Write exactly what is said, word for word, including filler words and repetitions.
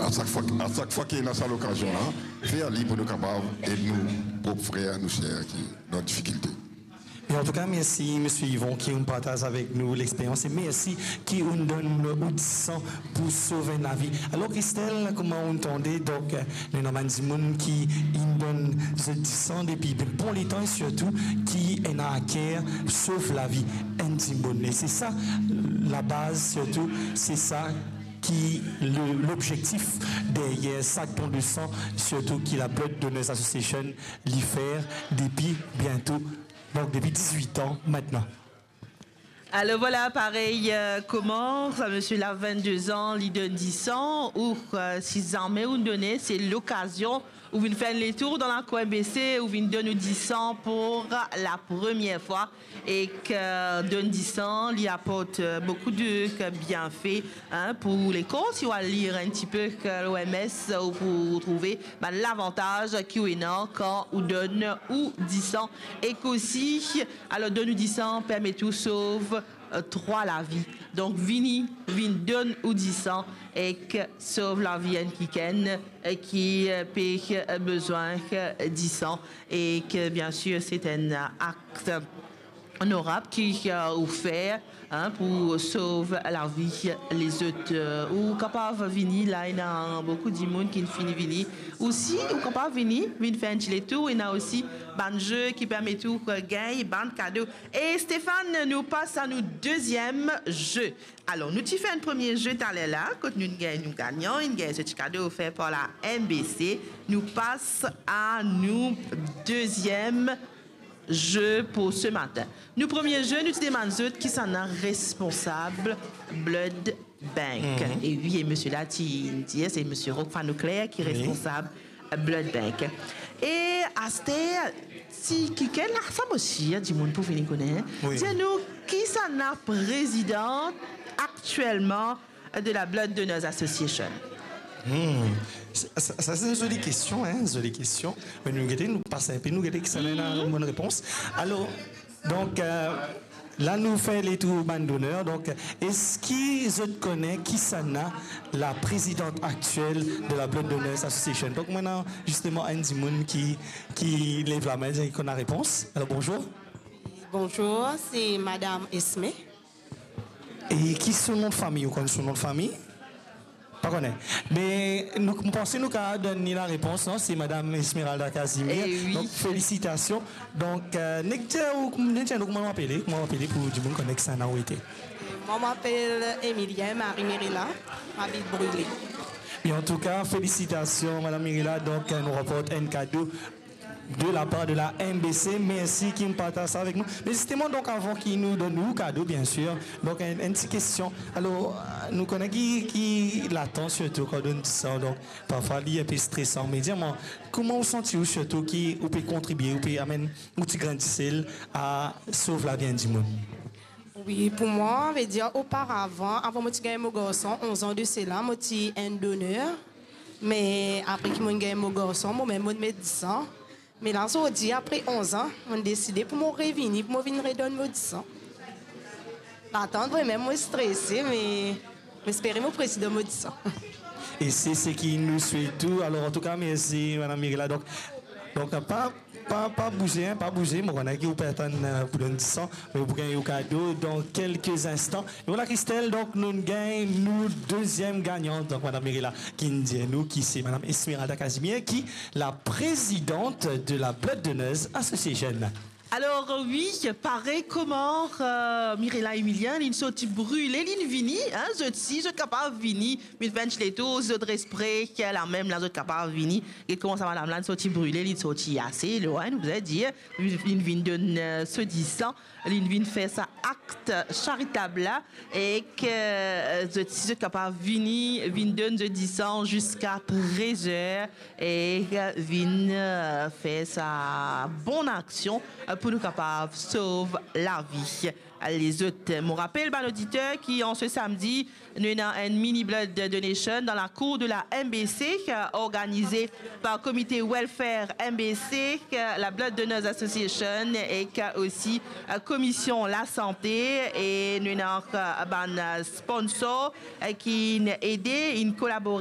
A sak fwa, a sak fwa ki ena sa lokazion la, fer li pou nou kapav ed nou prop frer, nou ser ki dan difikilte. E antouka, mersi, Misie Yvon, ki ou'nn partaz avek nou lexperyans, e mersi ki ou'nn donn ou disan pou sov enn lavi. Alor, Christelle, kouma ou'nn tande, donk, nou ena bann dimoun ki inn donn zot disan depi bon letan, e sirtou ki ena aker sov lavi enn dimoun. E se sa labaz, sirtou, se sa ki le, lobzektif deryer sak don de san, sirtou ki la Blood Donors Association li fer depi biento, donk depi dizwit an aster. Alor vwala, parey, euh, kouma sa misie la, vennde zan, li donn disan, ou, euh, si zame ou'nn done, se lokazion, ou vinn fer enn letour dan lakour M B C, ou vinn donn ou disan pou la premie fwa, ek donn disan, li aport, euh, boukou de, euh, bienfe, hein, pou lekor. Si ou al lir enn tipe, euh, l'O M S, ou pou trouve bann lavantaz ki ou ena kan ou donn ou disan. Ek osi, alor, donn ou disan permet ou sov, euh, trwa lavi. Donk, vini, vinn donn ou disan ek sov lavi enn kikenn, euh, ki, euh, pe, euh, bizin, euh, disan, ek, euh, biensir, se enn akt onorab ki, euh, ou fer, hein, pou sov lavi lezot. Euh, ou kapav vini la, ena boukou dimoun ki finn fini vini. Osi, ou kapav vini, vinn fer enn ti letour, ena osi bann ze ki permet ou, euh, gagn bann kado. E Stéphane, nou pas a nou deziem ze. Alor, nou ti fer enn premie ze taler la, kot nou gagn nou gagnan, inn gagn so ti kado ofer par la M B C. Nou pas a nou deziem ze pou se matin. Nou premie ze, nou ti demann zot kisannla responsab Blood Bank. Mhm. E wi, e misie la ti dir, se misie Rock Fanoclair ki, wi, responsab Blood Bank. E aster, si kikenn la, sa mo sir dimoun pou vini kone, wi, dir nou kisannla prezidan aktielman de la Blood Donors Association? Hmm. Sa, sa, sa se enn zoli kestion, hein, zoli kestion. Me nou gete, nou pas enpe, nou gete kisannla ena, mhm, bonn repons. Alor, donk, euh, la nou fer letour bann doner. Donk, eski zot kone kisannla la prezidan aktiel de la Blood Donors Association? Donk, nou ena zisteman enn dimoun ki, ki lev lame, ki konn la repons. Alor, bonzour. Bonzour, se Madam Esme. E ki so nom de fami? Ou konn so nom de fami? Pa kone. Me nou, mo panse nou kapav donn li larepons, non? Se Madam Esmeralda Casimir. Eh oui. Donk, felisitasion. Donk, euh, nek dir ou, nek dir nou kouma ou apele, kouma ou apele pou dimoun kone kisannla ou ete. Moi, je m'appelle Emilien Marie Mirela, ma abit Brule. E antouka, felisitasion, Madam Mirela. Donk, euh, nou ranport enn kado de la par de la M B C. Mersi ki partaz sa avek nou. Me zisteman, donk, avan ki nou donn ou kado, biensir, donk, enn, enn ti kestion. Alor, nou kone ki, ki latans, sirtou kan donn disan, donk, parfwa, li enpe stresan. Me dir mwa, kouma ou santi ou, sirtou ki ou pe kontribie, ou pe amenn ou ti grin disel a sov lavi enn dimoun? Wi, pou mwa, vedir, oparavan, avan mo ti gagn mo garson, onz an de sela, mo ti enn doner. Me apre ki mo'nn gagn mo garson, momem mo'nn met disan. Me la, zordi, apre onz an, mo'nn deside pou mo revini, pou mo vinn redonn mo disan. Latant, vremem, mo strese, me mo espere mo prezidan mo disan. E se seki nou swet ou. Alor, antouka, mersi, Madam Mirela. Donk, donk, pa, pa, pa bouze, hein, pa bouze. Mo kone ki ou pe atann, euh, pou donn disan, me ou pou gagn ou kado dan kelke zinstan. E vwala, Christelle, donk, nou gagn nou deziem gagnan. Donk, Madam Mirela ki'nn dir nou ki se Madam Esmeralda Casimir, ki la prezidan de la Blood Donors Association. Alor, wi, parey kouma, euh, Mirela Emilien, li'nn sorti Brule, li'nn vini, hein, zot si, zot kapav vini, vinn fer enn ti letour, zot res pre, lamem la, zot kapav vini. E kouma sa madam la, li'nn sorti Brule, li'nn sorti ase lwin, nou bizin dir, li'nn vinn donn, euh, so disan, li'nn vinn fer sa akt charitab la, ek, euh, zot si, zot kapav vini, vinn donn zot disan ziska trez er, e, euh, vinn, euh, fer sa bon aksion, euh, pou nou kapav sov lavi lezot. Mo rapel bann oditer ki an se samdi, nou ena enn mini blood donation dan lakour de la M B C, euh, organize par Komite Welfare M B C, euh, la Blood Donors Association ek, euh, osi, euh, Komisyon Lasante, e nou ena, euh, bann, euh, sponsor, euh, ki'nn ede, inn kolabore